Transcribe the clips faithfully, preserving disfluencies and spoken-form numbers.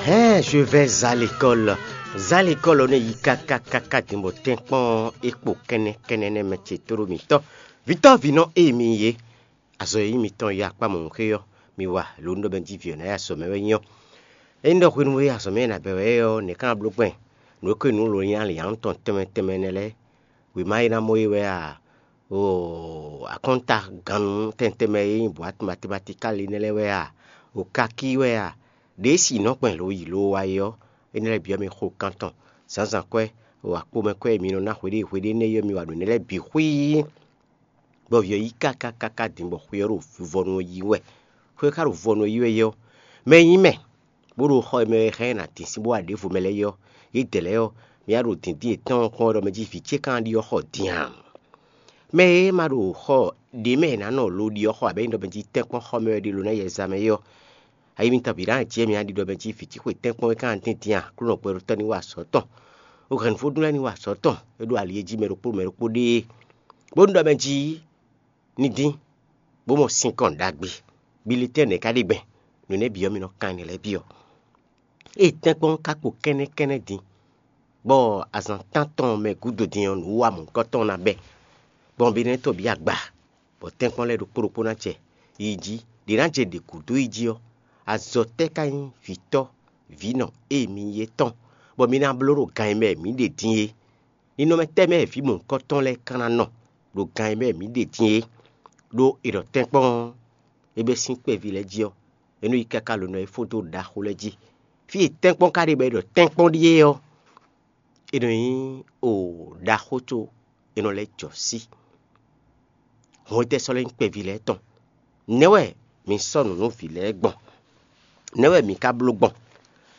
Hɛn, je vais à l'école. Zá l'école ɔ́ nɔ yi káká káká din bɔ tɛ́nkpɔ́n ɔ́ é kpo kɛ́nnɛ́ kɛ́nnɛ́ nɛ́ mɛ ce tóɖó mǐtɔn. Vǐtɔ́ vǐnɔ e mi yě, azɔ̌ e nyí mitɔn yi akpá mɔ̌hunxé ɔ́, mi wa lǒ un ɖɔ mɛ jí vǐ ɔ́ ná yi azɔ̌ mɛ wɛ nyí ɔ́. Ényí ɖɔ hwenu e azɔ̌ mɛ e nǎ bɛ́ wɛ é ɔ́, nɛ̌ ka ná bló gbɛn? Nǔ e ko nyí nǔ lǒnlɛ́n alǐnnyánú tɔn tɛnmɛ tɛnmɛ nɛ́ lɛ́ɛ, wěma e ná mɔ é wɛ a? O akɔ́nta gannú tɛntɛnmɛ e nyí bɔ̌ matematikali nɛ́ lɛ́ɛ wɛ a? O kakí wɛ a? Ɖě si nɔ kpɛn lo yi lo wá é ɔ́, énɛ́ lɛ́ɛ bǐ ɔ́ mi xo kan tɔn. Zǎnzǎn kwɛ́, o akpomɛ kwɛ́ e mi nɔ ná hweɖée hweɖée énɛ́ é ɔ́, mi wa ɖo nɛ̌ lɛ́ɛ bǐ xwíí, bɔ vǐ ɔ́ yí káká káká din bɔ xwe ɔ́ ɖo vɔvɔnu ɔ́ yí wɛ. Xwe e ka ɖo vɔvɔnu ɔ́ yí wɛ é ɔ́, mɛ e nyí mɛ, bó ɖo xɔ e mɛ wɛ hɛn ná dín sín bó wa ɖěvo mɛ lɛ́ɛ é ɔ́, yědɛɛ lɛ́ɛ ɔ́, mi wá ɖo dǐndín yětɔn kpɔ́n wɛ ɖɔ mɛ jí vǐ ce ka ná ɖi ɔ́ xɔ din a? Mɛ e ma ɖo xɔ ɖě mɛ è nǎ nɔ lo ɖi ɔ́ xɔ abǐ ényí ɖɔ mɛ jí tɛ́nkpɔ́n xɔ mɛ wɛ ɖe lo ná yɛ zán mɛ é ɔ́, ayi mitɔn bǐ ná jɛ mi aɖiɖɔ mɛ jí vǐ ce xwe tɛ́nkpɔ́n é ka ná dín din a? Aklúnɔ gbɛɖotɔ́ ní wa azɔ̌ tɔn, o hɛ̌nnu vodún lɛ́ɛ ní wa azɔ̌ tɔn, é ɖo ali e jí mɛ ɖokpó mɛ ɖokpó ɖe é, bónú ɖɔ mɛ jí ní dín, bó mɔ sinkɔn ɖagbe. Bilitɛ́n nɛ̌ ka ɖe gbɛn? Nǔ énɛ́ bǐ ɔ́, mi nɔ kan nǔ lɛ́ɛ byɔ́. Ée tɛ́nkpɔ́n ka kpo kɛ́nnɛ́ kɛ́nnɛ́ din, bɔ azǎn tántɔn mɛ gúdo din ɔ́, nǔ wa mɔ̌hunkɔtɔn ná bɛ́, gbɔn Benɛ́tɔ́ bǐ agba, bɔ tɛ́nkpɔ́n lɛ́ɛ ɖokpó ɖokpó ná jɛ yi jí, ɖě ná jɛ ɖě gúdo yi jí ɔ́, azɔ̌ tɛ́ ka nyí vǐtɔ́, vǐnɔ e mi nyí é tɔn, bɔ mi ná bló ɖo gan e mɛ mǐ ɖe din é? Ninɔmɛ tɛ́ mɛ vǐ mɔ̌hunkɔtɔn lɛ́ɛ ka ná nɔ ɖo gan e mɛ mǐ ɖe din é? Ɖó è ɖɔ tɛ́nkpɔ́n ɔ́, é bɛ́ sín kpɛví lɛ́ɛ jí ɔ́, é nɔ yi káká lǒnɔ e fó dó ɖaxó lɛ́ɛ jí. Fí e tɛ́nkpɔ́n ka ɖe bɔ è ɖɔ tɛ́nkpɔ́n ɖíe ɔ́, è nɔ nyí o ɖaxó có è nɔ lɛ́ jɔ sí. Hɔn étɛ́ sɔ́ lɛ́ nyí kpɛví lɛ́ɛ tɔn? Nɛ̌ wɛ mi sɔ́ nǔ nú vǐ lɛ́ɛ gbɔn? Nɛ̌ wɛ mi ka bló gbɔn,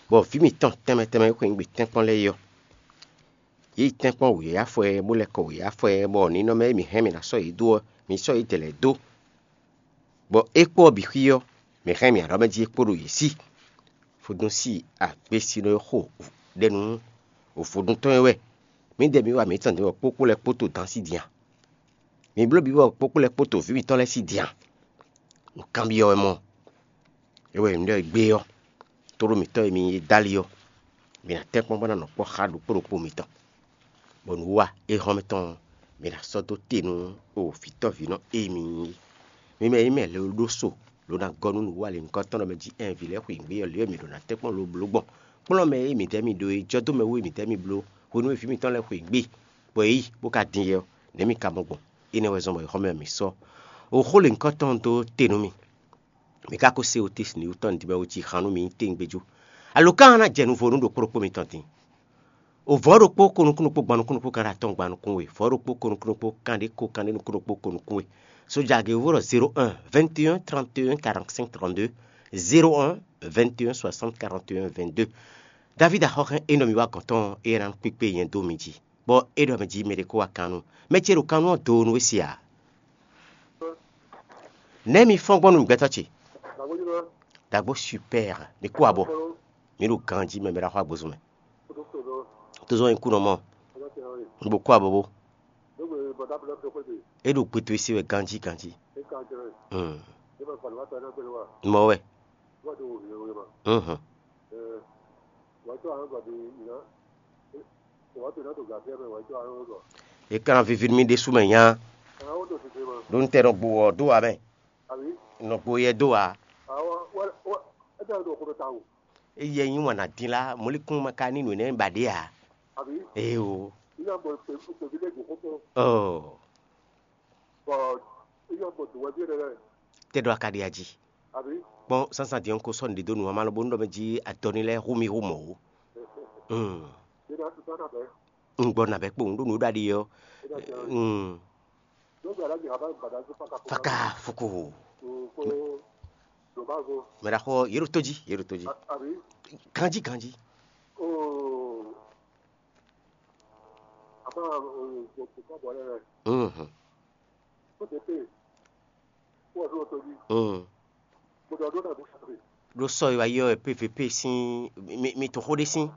bɔ vǐ mitɔn tɛnmɛ tɛnmɛ e xwe nyi gbe tɛ́nkpɔ́n lɛ́ɛ é ɔ́, yě yi tɛ́nkpɔ́n wěyáfɔ ɛ, bó lɛ́ kɔ wěyáfɔ ɛ, bɔ ninɔmɛ e mǐ hɛn mǐ ná sɔ́ yě dó ɔ́, mi sɔ́ yě dɛ̌ lɛ́ɛ dó, bɔ é kpó ɔ́ bǐ xwí ɔ́, mǐ hɛn mǐ alɔ mɛ jí é kpó ɖo yě sí. Vodúnsi agbésínɔ e xo ɖɛ nú vodún tɔn é wɛ. Mǐdɛɛ mǐ wa mǐtɔn din bɔ kpókpó lɛ́ɛ kpódó dǎn sí din a? Mi bló bǐ bɔ kpókpó lɛ́ɛ kpódó vǐ mitɔn lɛ́ɛ sí din a? Nǔkanbyɔ́ wɛ mɔ. É wɛ nyɛ ɖɔ gbé ɔ́, tlóló mǐtɔn e mi nyí é dó ali ɔ́, mi ná tɛ́nkpɔ́n bó ná nɔ kpɔ́ xá ɖokpó ɖokpó mitɔn, bɔ nǔwiwa e hɔn mitɔn ɔ́, mi ná sɔ́ dó te nú o vǐtɔ́vǐnɔ e mi nyí é. Mi mɛ e nyí mɛ lě e ɖó so, lǒ ná gɔ́ nú nǔwiwa lěhunkɔtɔn ɔ́ mɛ jí ɛɛn vǐ lɛ́ɛ xweyǐgbe ɔ́, lě e mi ɖǒ ná tɛ́nkpɔ́n lobló gbɔn kplɔ́n mɛ e mǐdɛɛ mi ɖó é, jɔ́ dó mɛ wú e mǐdɛɛ mi bló hwenu e vǐ mitɔn lɛ́ɛ xweyǐgbe, bɔ é yi bó ka din yɛ ɔ́, nɛ̌ mi ka mɔ gbɔn? Énɛ́ wɛ zɔ́n bɔ è xɔ mɛ mi sɔ́. O xó lěhunkɔtɔn dó te nú mi. Mi ka ko se o te sin wú tɔn din bɔ é cí xan nú mi nyí tɛngbɛ́ jó. Alo ka ná jɛ nuvo nú ɖokpó ɖokpó mitɔn din? O vɔ̌ ɖokpó ko nukún ɖokpó gban nukún ɖokpó kan ɖo atɔn gban nukún we, vɔ̌ ɖokpó ko nukún ɖokpó kan ɖé ko kan ɖé nukún ɖokpó ko nukún we. Sójà gěwúvɔ ɖɔ zéro un vingt et un trente et un quarante-cinq trente-deux, zéro un vingt et un soixante quarante et un vingt-deux. David axɔ́xɛ́n e nɔ mi wá gɔ̌n tɔn é ná kpékpé nyɛ dó mi jí, bɔ é ɖɔ mɛ jí mɛ ɖé kó wá kan nú mɛ ce ɖo kan nú ɔ́ doo nú we se ǎ. Nɛ̌ mi fɔ́n gbɔn nú gbɛtɔ́ ce? Dǎgbó super, mi kú abɔ. Mi ɖo ganjí mɛ, mi ɖo axɔ agbozun mɛ. Tozɔn nyi kú nɔ mɔ. Un bo kú abɔ bó. É ɖo gbeto e se wɛ ganjí ganjí. Hmm. Mɔ wɛ. Mhm. E ka ná vivi nú mì ɖésú mɛ nya. Ɖó un tɛ nɔ gbo wɔ dó wa mɛ. Nɔ gbo yɛ dó wa. Eyɛ nyi wana din la, mɔlikún ma ka ní nǔ énɛ́ ba ɖě ǎ. Ee o. Ɔ. Tɛ ɖɔ a ka ɖi aji. Kpɔn sánsan din ɔ́, un ko sɔ́ nǔɖé dó nǔ wá má lɔ bónú ɖɔ mɛ jí adɔ ní lɛ́ɛ hu mì hu mɔ̌ ó. Un gbɔ nǎ bɛ́ kpowun ɖó nǔ ɖaɖi ɔ́. Faka fuku. Mɛ ɖaxɔ yě ɖo tó jí, yě ɖo tó jí. Ganjí ganjí. Mhm. Mm. Ɖo sɔ e wá yi ɔ́, P V P sín mi, mi to xó ɖé sín.